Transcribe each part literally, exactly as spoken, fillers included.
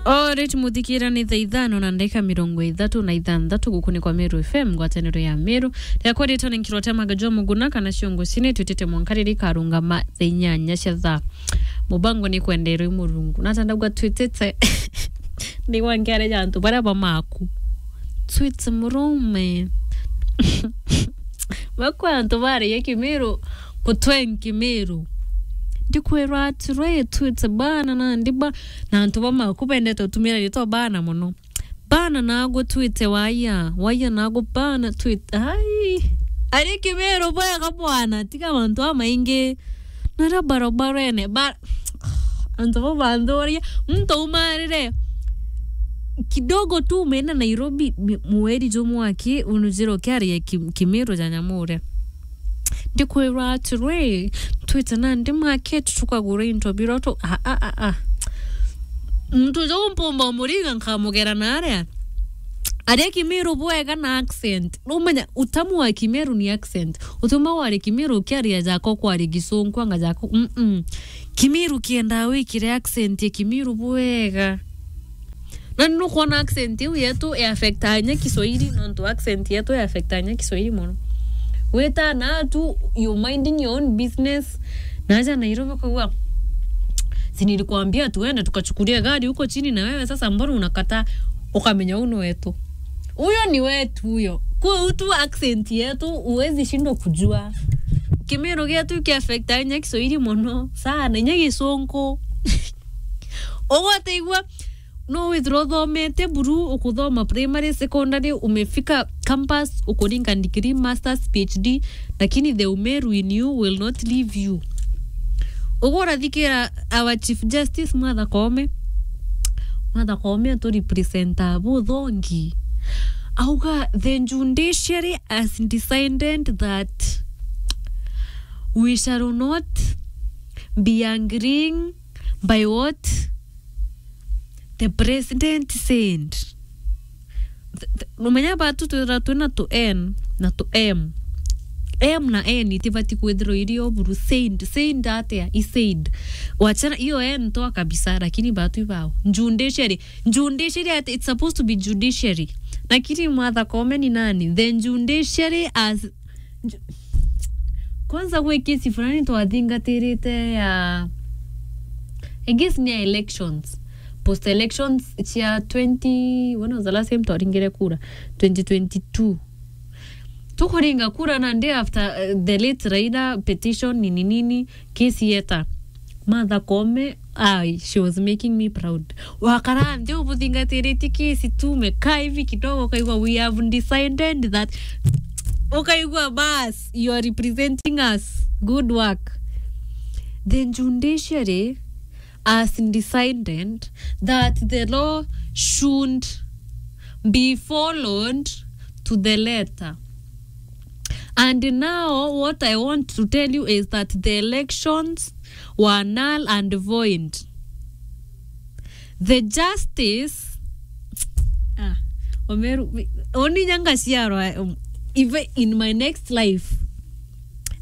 Alright, muthikira ni thaa ithano na ndagika mirongo ithatu na ithanthatu guku ni kwa Meru F M, ngwataniro ya Meru. Riakwa ritwa ni Nkirwate Magajua Muguna, kana ciongo cine twitite mwanka riri karungama thaa inyanya cia thaa. Mubango ni kwenderwe i Murungu. Nata ndauga twitite. Ni gwa nkiare ja antu baria ba maku. Twite murume. Bakwa antu baria Kimiru, kutwe Nkimiru. Ndikwirwa atiri, twite bana na ndiba, na antu ba maku bendete utumira ritwa bana muno. Bana nago twite waya, waya nago bana twite. Ai. Ari Kimiru bwega bwana, tiga mantu amaingi. Nara barobarene, ba-, antu bo banthuria, muntu aumarire kidogo tu umeenda Nairobi, mi-, mweri jumwe aki, unujire ukiaria ki-, Kimiru ja nyamu uria. Ndikwirwa atiri, twite nandi market tukagura into biroto, a, a, a, a. Muntu uju mpumba umuringa nkamugera na aria. Aria Kimiru bwega na accent. Numenya utamu wa Kimiru ni accent. Utuma wari Kimiru ukiaria jako kwari Gisunku anga jako. Mm-mm. Kimiru kienda wikire accent ya Kimiru bwega. Na nukwona accent iu yetu ya affecta nya Kiswahili, nontu accent yetu ya affecta nya Kiswahili mono. Wita na tu, you minding your own business. Na aja Nairobi kugua. Si nilikwambia tuende tukachukulie gari huko chini na wewe sasa mbona unakataa? Ukamenya unu wetu. Huyo ni wetu huyo. Kwa tu accent yetu huwezi shindwa kujua. Kimiru gietu ki affecta nya Kiswahili mono. Sana, nya Gisunku. Ugoteigua, no withirwa uthomete buru, ukuthoma primary, secondary, umefika campus, ukuringa degree, masters, P H D, lakini the Umeru in you will not leave you. Ugu urathikira our Chief Justice Martha Koome. Martha Koome atu representa buthongi. Auga, the judiciary has decided that we shall not be agreeing by what the president said. Th-, th-, numenya batu twithira twina tu N na tu M. M na N itibati kwithirwa iri o buru. Said, said atia? He said. Wachana, hiyo N toa kabisa, lakini batu ibao. Judiciary. Judiciary ati, it's supposed to be judiciary. Lakini Martha Koome ni nani? The judiciary as Ju-, kwanza gwi kesi fulani twathingatirite ya, I guess ni ya elections. Post elections cia twenty, when was the last time twaringire kura? Twenty twenty-two. Tukuringa kura na day after, uh, the late Raila petition nini nini, kesi yeta. Martha Koome, ai, she was making me proud. Wakara nthi ubuthingatiritie kesi tu, umekaa hivi kidogo, ukaigua, "We have decided that," ukaigua, "Bas, you are representing us. Good work." The judiciary has decided that the law should be followed to the letter. And now what I want to tell you is that the elections were null and void. The justice, ah, Omeru, oni nyanga ciarwa, um, even in my next life,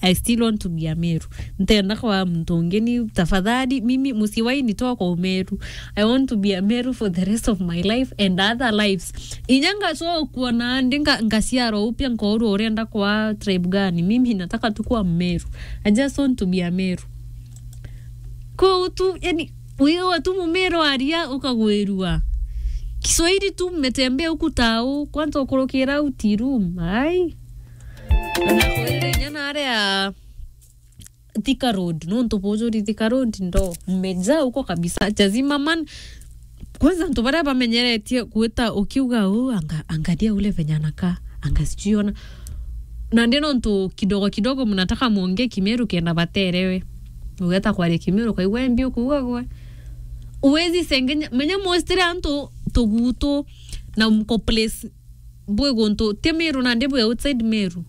I still want to be a Meru. Ntenda kwa muntu ungi ni tafadhali, mimi mucii wa ini twa kwa Umeru. I want to be a Meru for the rest of my life and other lives. Inya ngacokua nandi nga-, ngaciarwa upya nkorwa urenda kwa tribe gani. Mimi nataka tu kuwa Mmeru. I just want to be a Meru. Kwou tu, yani, wiwa tu Mumeru aria ukagwirua. Kiswahili tu mmetembea huku tao, kwanza ukurukira au tea room. Ai. Na kwirira inya na aria Thika Road, nontu bujuri Thika Road ndo mmejaa huko kabisa. Jazima man, kwanza antu baria bamenyeretie gwita ukiuga, "Oh, anga-, angalia ule venye anakaa, anga sijui ona." Na ndi nontu kidogo kidogo mnataka muongee Kimeru kenda baterewe. Ugeta kwaria Kimeru, ukaigua mbi ukuuga gwe. Uwezi sengenya, menya mwistire antu tugutu na mko place bwi guntu ti Meru nandi bwi outside Meru.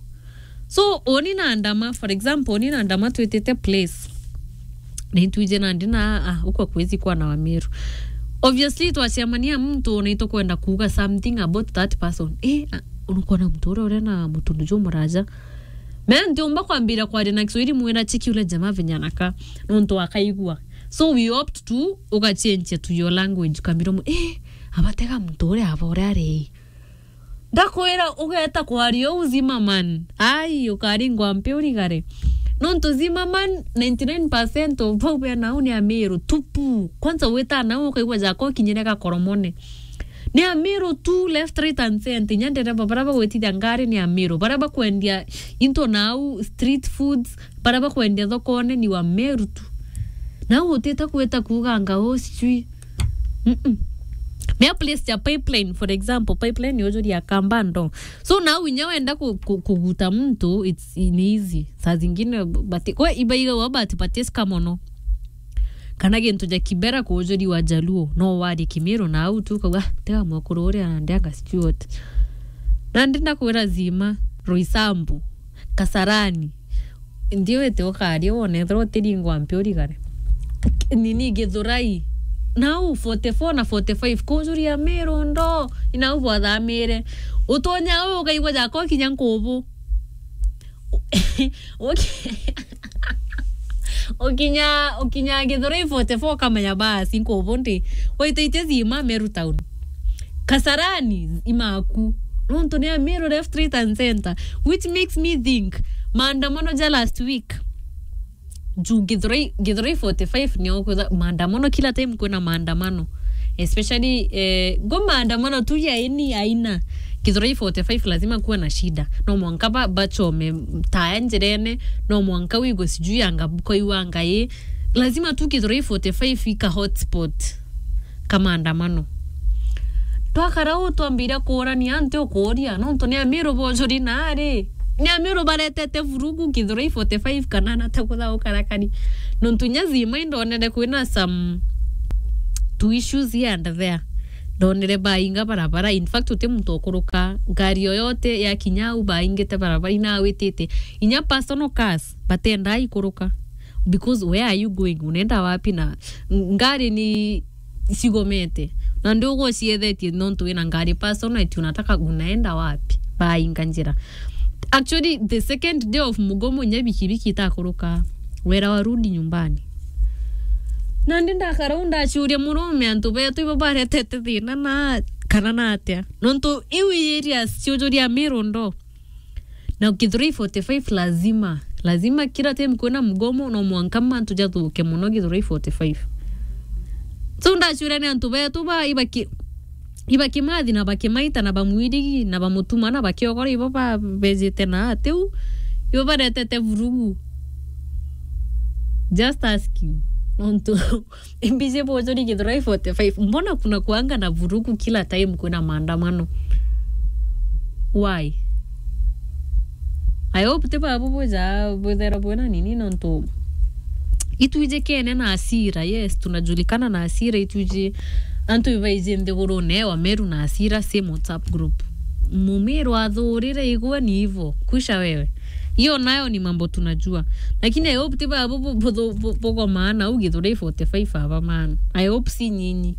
So, uni na Ndama, for example, uni na Ndama twitite place. Na itwije nandi na, ah, ukwa kwezi kwa na wa Meru. Obviously, twacemania muntu na itukwenda kuuga something about that person. Eh, ah, unukwona muntu uria uri na mutundu jumuraja. Mena ntiumba kwambira kwaria na Kiswahili mwira cheki ule jamaa venye anakaa. Nontu akaigua. So we opt to ugachenjia to your language, ukambira mu-, eh, abatega muntu uria aba uria ari. Ndakwira ugeta kwaria uu Zimmerman. Ai, ukaringwa mpi urigare. Nontu Zimmerman, ninety nine percent of bau bena au ni Amiru tupu. Kwanza wita nau ukaigua jako kinyire gakoromone. Ni Amiru tu, left, right and center. Inya ndereba baria bagwitithia ngari ni Amiru. Baria bakwendia into nau, street foods, baria bakwendia thokone ni wa Meru tu. Nau utite kwita kuuganga uu sijui. Mm-mm. Mea place ya pipeline, for example, pipeline ni ujuria kamba ndo. So nau inya wenda ku-, ku-, kuguta muntu, it's in easy. Saa zingine bati-, kwe ibaiga wa bati batisika mono. Kana gintu ja Kibera kujuri wa Jaluo, no warie Kimiru na au tu ukauga, "Ah, tiga mwekuru uria ndianga sijui what." Nandi ndakwira Zima, Roysambu, Kasarani. Ndiwite ukaria wone ethirwa utiringwa mpi urigare. Nini Githurai. Nau forty-four na forty-five kujuri Amiru ndo. Inau bwathamire. Utonya u ukaigua jako kinya nkubu. Uki-, ukinya, ukinya Githurai forty-four ukamenya basi nkubu ndi. Waitaitie Zima Meru town. Kasarani imaku. Nontu ni Amiru left, right and center. Which makes me think maandamano ja last week. Juu Githurai, Githurai forty-five nio kwitha maandamano, kila time kwina maandamano. Especially, eh, go maandamano tu ya ini aina. Githurai forty-five lazima kuwe na shida. No mwanka ba-, bachome taya njirene, no mwanka wigwe sijui anga buko iwanga i. Lazima tu Githurai forty-five ika hotspot ka maandamano. Twakara uu twambire kuurania, antu ukuuria, nontu ni Amiru bojuri naari. Ni Amiru baretete vurugu Githurai forty-five kana na ta kutha ukarakari. Nontu nya Zima indonere kwina some two issues here and there. Ndonere bainga barabara. In fact, uti muntu ukuruka ngari yoyote ya kinya au baingite barabara inawitite. Inya personal cars, batenda ikuruka. Because where are you going? Unaenda wapi? Na ng-, ngari ni cigomete. Na ndi ugwo ciethetye nontu wina ngari personal, eti unataka unaenda wapi? Bainga njira. Actually, the second day of mugomo, nya bikibiki itakuruka. Wera warudi nyumbani. Na ndi ndakara u ndaciuria murume antu betu ibo baretete thina na kana na atia. Nontu iu i areas ciujuria Amiru ndo. Na Githurai forty-five lazima, lazima kila time kwina mgomo no mwanka mantu jathuke muno Githurai forty-five. So ndaciuria ni antu betu ba ibaki-, ibakimathi na bakimaita na bamwirigi na bamutuma na bakiogora ibo ba-, bejite na atiu, ibo baretete vurugu. Just asking. Nontu Mbiji bujuri Githurai forty-five. Mbona kuna kuanga na vurugu kila time kuna maandamano? Why? I hope ti babu buja bwithera bwina nini nontu itwiji kene na asira. Yes, tunajulikana na asira itwiji antu ibaiji nthigurune wa Meru na asira same WhatsApp group. Mumiru athurire igwe ni ivo. Kwisha wewe. Hiyo nayo ni mambo tunajua. Lakini I hope ti babu bu-, bu-, bu-, bu-, bugomaa na u Githurai forty-five aba man. I hope si nyinyi.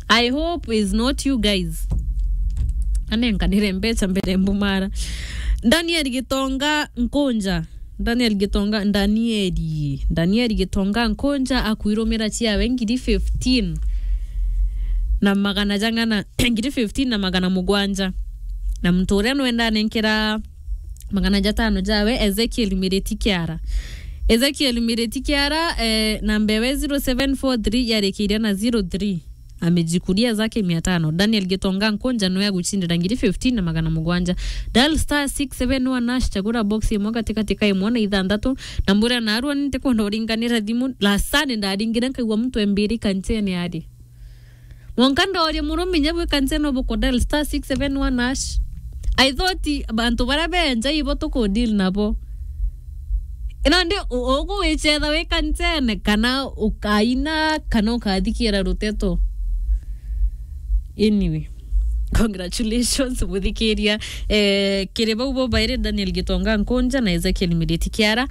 I hope is not you guys. Anenkanire mbeca mbere mbumara. Daniel Gitonga Nkunja. Daniel Gitonga, Danieli. Daniel Gitonga Nkunja akwirumira ciawe ngiri fifteen na magana jang'ana, ngiri fifteen na magana mugwanja. Na muntu uria nwenda anenkera magana jatano jawe, Ezekiel Miriti Kiara. Ezekiel Miriti Kiara, eh, namba ewe zero seven four three yarikiire na zero three. Amejikulia zake mia tano. Daniel Gitonga Nkunja niwe agucindira ngiri fifteen na magana mugwanja. Dial star six seven one hash, chagura box imwe katikati ka imwe na ithanthatu. Na mbura narua ni ntikwenda uringanira thimu. Last Sunday ndaringire nkaigua muntu embiri kanchene ari. Mwanka ndooria murume inya bwi kanchene ubuko dial star six seven one hash. I thought bantu baria benja ibo tuku deal nabo. Ino ndi u-, ugu wichetha wi kanchene kana ukaina kana ukathikiira ruteto. Anyway, congratulations muthikiria. Eh, kiri bau bo bairi Daniel Gitonga Nkunja na Ezekiel Miriti Kiara.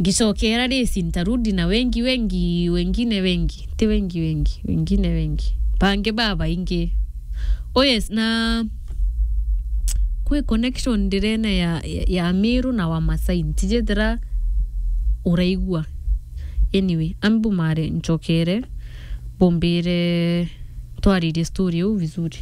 Ngicokera risi ntarudi na wengi, wengi, wengine wengi. Ti wengi, wengi, wengine wengi. Bangi babaingi. Oh yes, na kwi connection ndirene ya, ya, ya Miru na Wamasai. Ntijethira uraigua. Anyway, ambu mare ncokere, bumbire twaririe story iu vizuri.